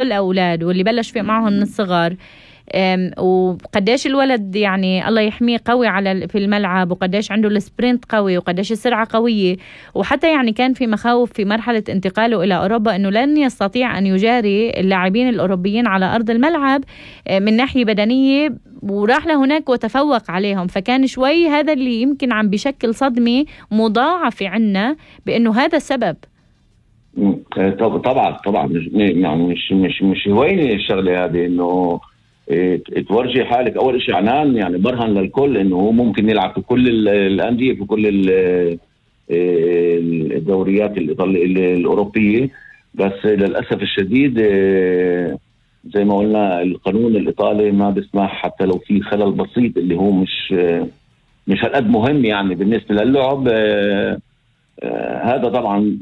الأولاد واللي بلش في معهم من الصغر، وقديش الولد يعني الله يحميه قوي في الملعب، وقديش عنده السبرنت قوي، وقديش السرعة قوية. وحتى يعني كان في مخاوف في مرحلة انتقاله إلى أوروبا أنه لن يستطيع أن يجاري اللاعبين الأوروبيين على أرض الملعب من ناحية بدنية، وراح لهناك وتفوق عليهم. فكان شوي هذا اللي يمكن عم بشكل صدمة مضاعفة عنا بأنه هذا السبب. طبعا يعني مش هويني الشغله هذه، انه تورجي حالك اول شيء عنان، يعني برهن للكل انه هو ممكن يلعب في كل الانديه في كل الدوريات الاوروبيه. بس للاسف الشديد زي ما قلنا القانون الايطالي ما بيسمح، حتى لو في خلل بسيط اللي هو مش هالقد مهم يعني بالنسبه للعب. هذا طبعا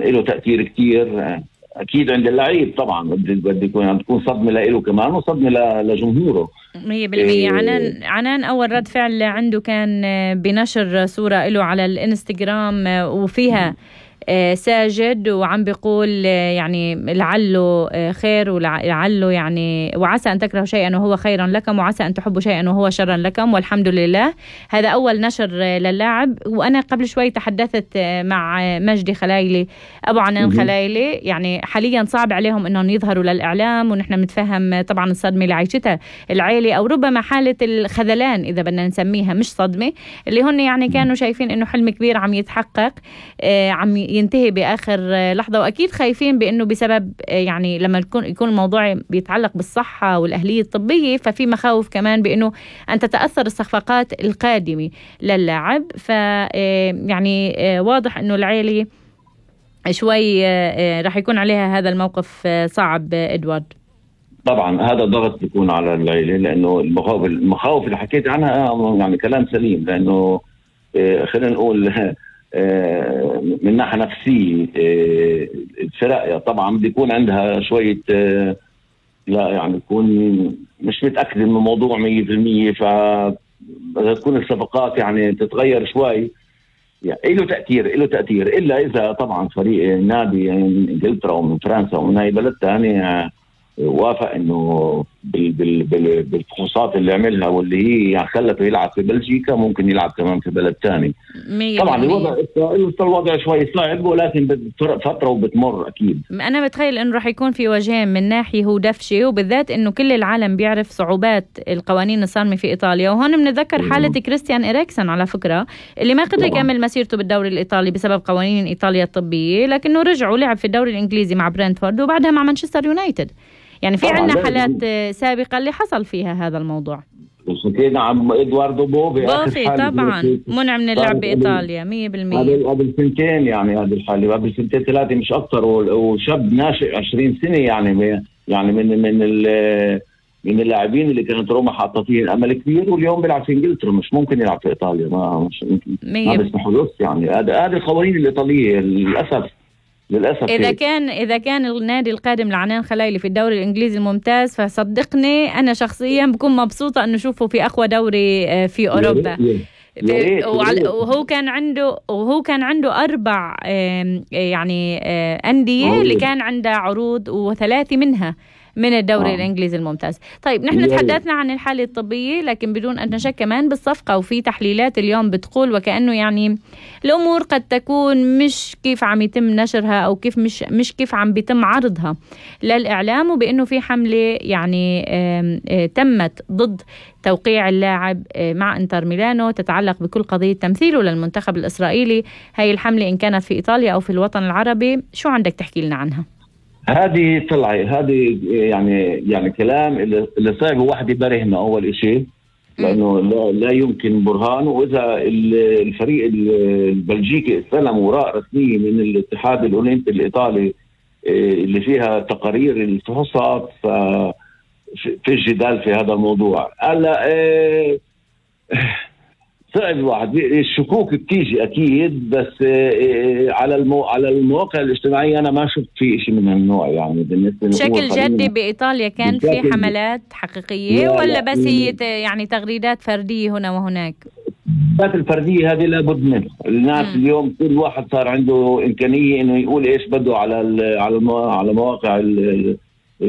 له تأثير كتير أكيد عند اللعيب. طبعا بدي تكون صدمة له كمان وصدمة لجمهوره 100%. عنان أول رد فعل عنده كان بنشر صورة له على الانستغرام وفيها ساجد وعم بيقول يعني لعله خير ولعله يعني وعسى أن تكرهوا شيئا وهو خيرا لكم وعسى أن تحبوا شيئا وهو شرا لكم والحمد لله. هذا أول نشر للاعب. وأنا قبل شوي تحدثت مع مجدي خلايلي أبو عنان خلايلي، يعني حاليا صعب عليهم أنهم يظهروا للإعلام، ونحن متفهم طبعا الصدمة اللي عايشتها العائلة أو ربما حالة الخذلان إذا بدنا نسميها، مش صدمة، اللي هن يعني كانوا شايفين أنه حلم كبير عم يتحقق، عم ينتهي بآخر لحظة. وأكيد خايفين بأنه بسبب يعني لما يكون الموضوع بيتعلق بالصحة والأهلية الطبية، ففي مخاوف كمان بأنه أن تتأثر الصفقات القادمة للاعب. يعني واضح أنه العائلة شوي رح يكون عليها هذا الموقف صعب. إدوارد طبعا هذا ضغط بيكون على العائلة، لأنه المخاوف اللي حكيت عنها يعني كلام سليم، لأنه خلينا نقول من ناحية نفسية الفرق طبعا بيكون عندها شوية لا يعني تكون مش متأكد من الموضوع 100%، فتكون الصفقات يعني تتغير شوي، يعني له تأثير إلا إذا طبعا فريق نادي من إنجلترا ومن فرنسا ومن أي بلد تاني وافق إنه بالفحوصات اللي عملها واللي هي يعني خلته يلعب في بلجيكا ممكن يلعب كمان في بلد تاني. طبعا الوضع شوي صعب، ولكن فترة وبتمر أكيد. أنا بتخيل إنه رح يكون في وجهين، من ناحية هو دفشة، وبالذات إنه كل العالم بيعرف صعوبات القوانين الصارمة في إيطاليا. وهون بنتذكر حالة كريستيان إريكسن على فكرة اللي ما قدر يكمل مسيرته بالدوري الإيطالي بسبب قوانين إيطاليا الطبية، لكنه رجع ولعب في الدوري الإنجليزي مع برنتفورد وبعدها مع مانشستر يونايتد. يعني في عنا حالات سابقة اللي حصل فيها هذا الموضوع. وشكينا عن إدواردو بوفي طبعا منع من اللعب بإيطاليا 100%. قبل سنتين، يعني هذه الحالة قبل سنتين 3 مش أكتر، وشاب ناشئ 20 سنة يعني من اللاعبين اللي كانت روما حاطة فيه الأمل كبير، واليوم بيلعب في إنجلترا، مش ممكن يلعب في إيطاليا، ما بيسمحوا له. يعني هذه القوانين الإيطالية للأسف. إذا كان النادي القادم لعنان خلايلي في الدوري الإنجليزي الممتاز، فصدقني أنا شخصيا بكون مبسوطة أنه شوفه في أقوى دوري في أوروبا. وهو كان عنده 4 يعني أندية اللي كان عندها عروض، و3 منها من الدوري الإنجليزي الممتاز. طيب نحن تحدثنا عن الحالة الطبية، لكن بدون أن نشك كمان بالصفقة، وفي تحليلات اليوم بتقول وكأنه يعني الأمور قد تكون مش كيف عم يتم نشرها أو كيف مش كيف عم بيتم عرضها للإعلام، وبأنه في حملة يعني تمت ضد توقيع اللاعب مع انتر ميلانو تتعلق بكل قضية تمثيله للمنتخب الإسرائيلي. هاي الحملة إن كانت في إيطاليا أو في الوطن العربي، شو عندك تحكي لنا عنها؟ هذه يعني كلام اللي صعب واحد يبرهنه أول شيء، لأنه لا يمكن برهان. وإذا الفريق البلجيكي استلم وراء رسمية من الاتحاد الأولمبي الإيطالي اللي فيها تقارير الفحوصات، في جدال في هذا الموضوع. هلا صعب الواحد، الشكوك بتيجي أكيد، بس على المواقع الاجتماعية أنا ما شفت في شيء من النوع. يعني بالنسبة بشكل جدي بإيطاليا كان في حملات حقيقية ولا بس هي يعني تغريدات فردية هنا وهناك؟ التغريدات الفردية هذه لابد منها. الناس اليوم كل واحد صار عنده إمكانية إنه يقول إيش بده على مواقع